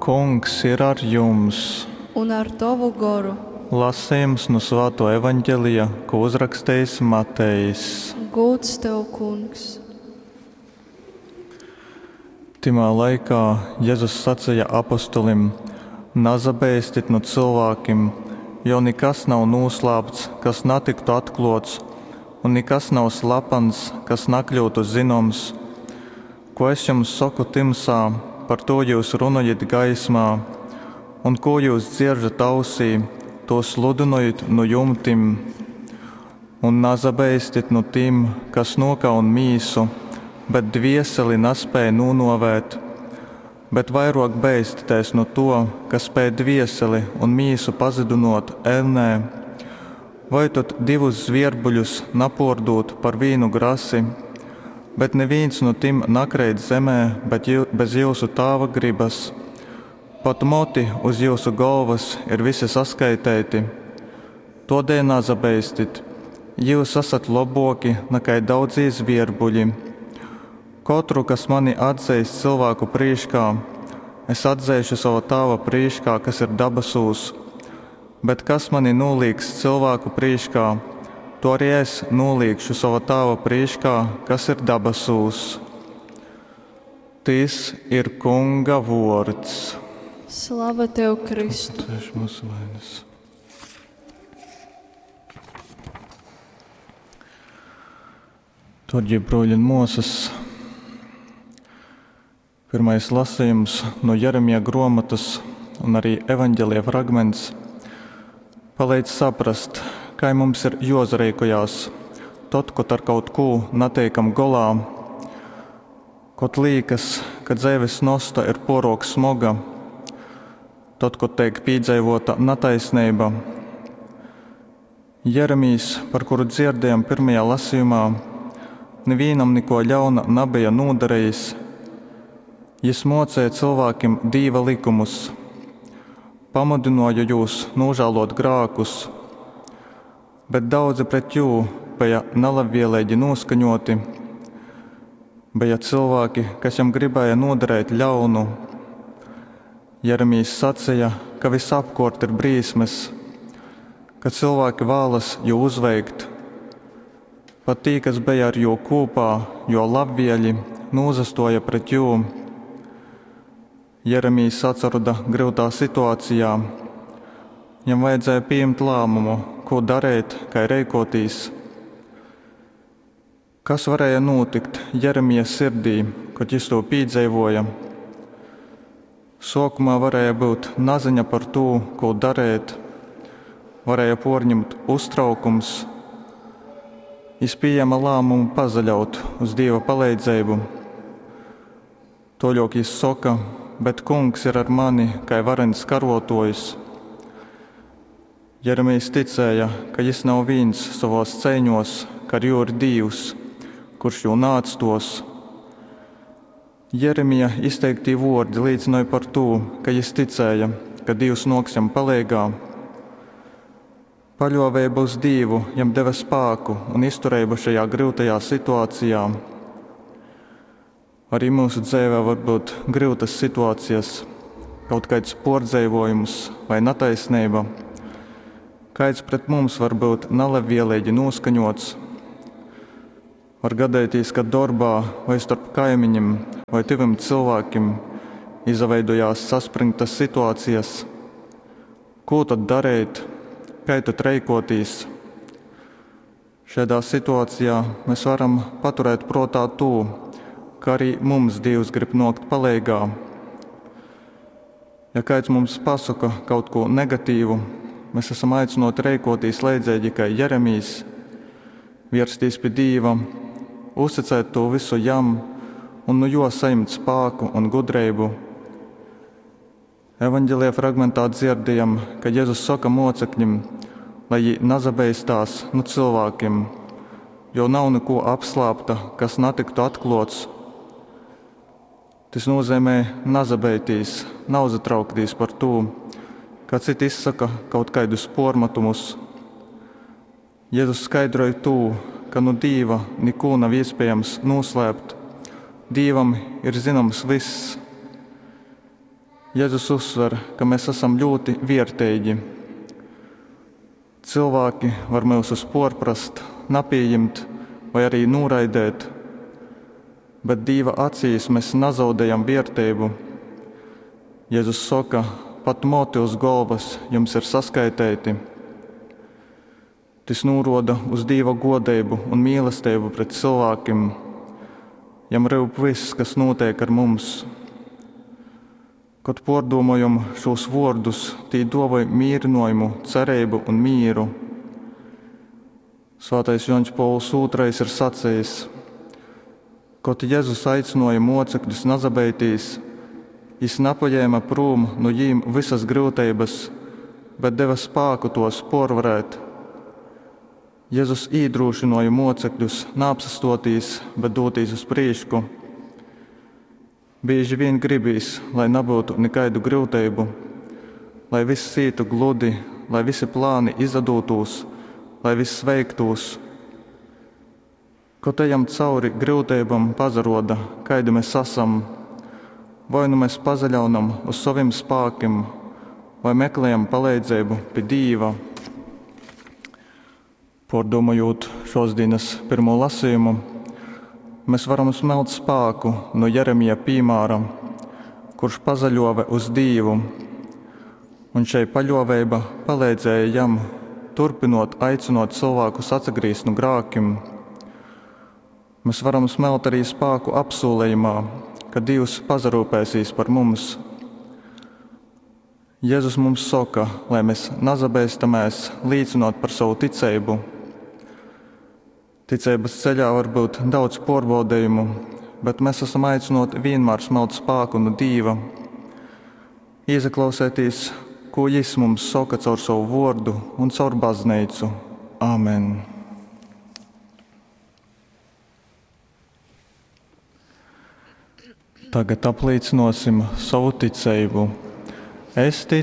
Kungs ir ar jums! Un ar tovu goru. Lasejums nu Svātuo Evaņgelija, ko uzrakstejis Matejs. Gūds tev, Kungs! Tymā laikā Jezus saceja apostolim, Nasabeistit nu cylvākim, jo nikas nav nūslāpts, kas natyktu atklōts, un nikas nav slapans, kas nakļyutu zynoms. Kū es jums soku tymsā, par tū jyus runojit gaismā, un kū jyus dzieržat ausī, tū sludynojit nu jumtim. Un nasabeistit nu tim, kas nūkaun mīsu, bet dvieseli naspēj nūnuovēt. Bet vairuok beistitēs nu tuo, kas spēj dvieseli un mīsu pazudynuot eļnē. Voi tod divus zvierbuļus napuordūd par vīnu grasi? Bet nivīns nu tim nakreit zemē bet jyu, bez jyusu Tāva grybas. Pat moti uz jyusu golvas ir visi saskaiteiti. Tuodēļ nasabeistit, jyus asat lobuoki nakai daudzī zvierbuļi. Kotru, kas mani atzeis cylvāku prīškā, es atzeišu sova Tāva prīškā, kas ir dabasūs. Bet kas mani nūlīgs cylvāku prīškā, to arī es nūliegšu sova Tāva prīškā, kas ir dabasūs. Tys ir Kunga vuords. Slava tev, Kristu! Darbie bruļi un muosas, pirmais lasījums no Jeremija gruomotas un arī evaņģēlija fragments palīdz saprast, kai mums ir juosareikojās tod, kod ar kaut kū nateikam golā, kod līkas, ka dzeives nosta ir puoruok smoga, tod, kod teik pīdzeivuota nataisneiba. Jeremijs, par kuru dzierdējam pirmajā lasījumā, nivīnam nikuo ļauna nabeja nūdarejis. Jis muocēja cylvākim Dīva lykumus, pamudynuoja jūs nūžāluot grākus, bet daudzi pret jū beja nalabvieleigi nūskaņuoti. Beja cylvāki, kas jam gribēja nodarēt ļaunu. Jeremijs saceja, ka visapkuort ir brīsmes, ka cylvāki vālas jū uzveikt. Pat tī, kas beja ar jū kūpā, jo labvieļi, nūzastuoja pret jū. Jeremijs atsaroda gryutā situācijā. Jam vajadzēja pieņemt lēmumu, ko darīt, kai reikotīs. Kas varēja notikt Jeremija sirdī, kod jis to pīdzeivoja? Suokumā varēja būt naziņa par tū, ko darīt, varēja porņemt uztraukums. Jis pieņēma lēmumu pazaļaut uz Dieva palīdzību. Toļok jis soka, bet kungs ir ar mani, kai varens karotojs. Jeremijs ticēja, ka jis nav vīns savos ceiņos, ka ar jū ir Dīvs, kurš jū naatstos. Jeremija izteiktī vuordi līcināja par tū, ka jis ticēja, ka Dīvs noks jam paleigā. Paļuoveiba uz Dīvu jam deva spāku un iztureibu šajā gryutajā situācijā. Arī mūsu dzīvē var būt gryutas situācijas, kaut kāds pordzeivuojums vai nataisnība. Kāds pret mums var būt nelabvēlīgi noskaņots. Var gadīties, ka darbā vai starp kaimiņiem vai tuviem cilvēkiem izveidojās saspringtas situācijas. Ko tad darīt? Kā tad reikotīs? Šādā situācijā mēs varam paturēt prātā to, ka arī mums Dievs grib nokt paleigā. Ja kāds mums pasaka kaut ko negatīvu, mēs esam aicināti reikotīs leidzīgi kā Jeremijs, vierstīs pie Dīva, uzticēt to visu jam un nu jo saņemt spāku un gudrību. Evanģelija fragmentā dzirdējam, ka Jēzus saka mocekļim, lai viņi nazabeistās nu cilvēkiem, jo nav neko apslāpta, kas natiktu atklots. Tas nozīmē nazabeitīs, nauzatrauktīs par to, ka citi izsaka kaut kādus pormatumus. Jēzus skaidroja to, ka nu Dīva neko nav iespējams noslēpt. Dīvam ir zināms viss. Jezus uzsver, ka mes asam ļūti vierteigi. Cylvāki var myusus puorprast, napījimt voi ari nūraidēt, bet Dīva acīs mes nazaudejam vierteibu. Jezus soka, pat moti uz golvas jums ir saskaiteiti. Tys nūruoda uz Dīva guodeibu un mīlesteibu pret cylvākim. Jam ryup vyss, kas nūteik ar mums. Kod puordūmojom šūs vuordus, tī duovoj mīrynuojumu, cereibu un mīru. Svātais Juoņs Pōvuls II ir sacejis: Kod Jezus aicynuoja muocekļus nasabeitīs, jis napajēma prūm nu jīm vysys gryuteibys, bet deva spāku tuos puorvarēt. Jezus īdrūšynuoja muocekļus naapsastuotīs, bet dūtīs uz prīšku. Bīži vīn gribīs, lai nabyutu nikaidu gryuteibu, lai vyss ītu gludi, lai vysi plāni izadūtūs, lai vyss veiktūs. Kod ejam cauri gryuteibom, pasaruoda, kaidi mes asam. Voi nu mes pasaļaunam uz sovim spākim, voi meklejam paleidzeibu pi Dīva. Puordūmojūt šuos dīnys pyrmū lasejumu, mes varam smelt spāku nu Jeremija pīmāra, kurš pasaļuove uz Dīvu, un šei paļuoveiba paleidzēja jam turpynuot aicynuot cylvākus atsagrīzt nu grākim. Mes varam smelt arī spāku apsūlejumā, ka Dīvs pasarūpēsīs par mums. Jezus mums soka, lai mes nasabeistamēs līcynuot par sovu ticeibu. Ticeibys ceļā var byut daudz puorbaudejumu, bet mes asam aicynuoti vīnmār smelt spāku nu Dīva, īsaklausētīs, kū Jis mums soka caur sovu vuordu un caur bazneicu. Amen! Tagad aplīcynuosim sovu ticeibu. Es ticu.